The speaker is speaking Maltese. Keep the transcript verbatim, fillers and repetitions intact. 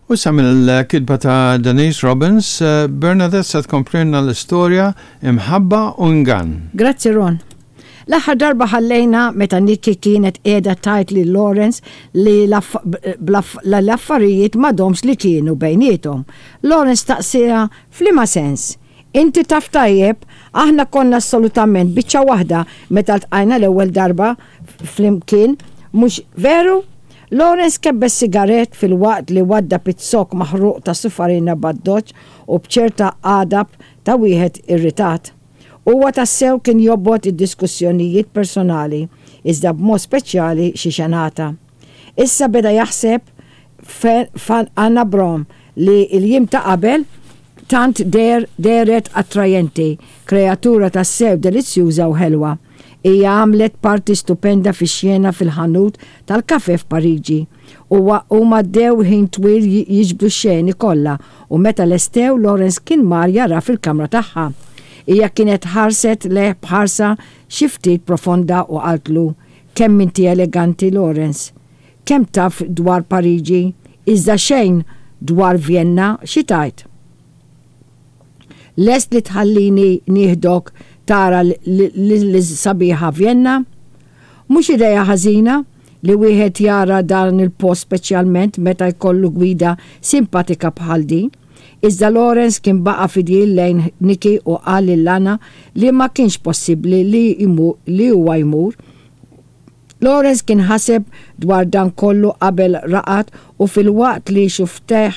U sa mill-kitba ta' Denise Robbins, eh, Bernadette se tkomplilna l-istorja Imħabba u Ingann. Grazzi, Ron. L-aħħar darba ħallejna meta Nikki kienet qiegħda tgħid lil Lawrence li l-affarijiet m'għadhomx li kienu bejniethom. Lawrence staqsieha f'liema sens. "Inti taf tajjeb, aħna konna assolutament biċċa waħda meta ltqajna l-ewwel darba flimkien, mhux veru?" Lawrence kebbes sigaret filwaqt li waddab iz-zokk maħruq ta' sufarina b'addoċċ u b'ċerta għadab ta' wieħed irritat. Huwa tassew kien jobgħod id-diskussjonijiet personali, iżda b'mod speċjali xi xenata. Issa beda jaħseb f'Anna Brom li l-jiem ta' qabel tant der dehret attrajenti, kreatura tassew delizzjuża u ħelwa. Hija għamlet parti stupenda fi xena fil-ħanut tal-kafe f'Pariġi. U huma għaddew ħin twil jiġbdu xeni kollha u meta lestew, Lawrence kien mar jara fil-kamra tagħha. Hija kienet ħarset lejh b'ħarsa xi ftit profonda u qaltlu, "Kemm inti eleganti, Lawrence. Kemm taf dwar Pariġi, iżda xejn dwar Vienna, xi tgħid? Lest li tħallini nieħdok tara l-sabiħa Vienna? Mhux ideja ħażina li wieħed jara dan il-post, speċjalment meta jkollu gwida simpatika bħal din." Iżda Lawrence kien baqa fidil lejn Nikki u qal lil Anna li ma kienx possibbli li, li huwa jmur. Lawrence kien ħaseb dwar dan kollu qabel raqad u filwaqt li xufftejh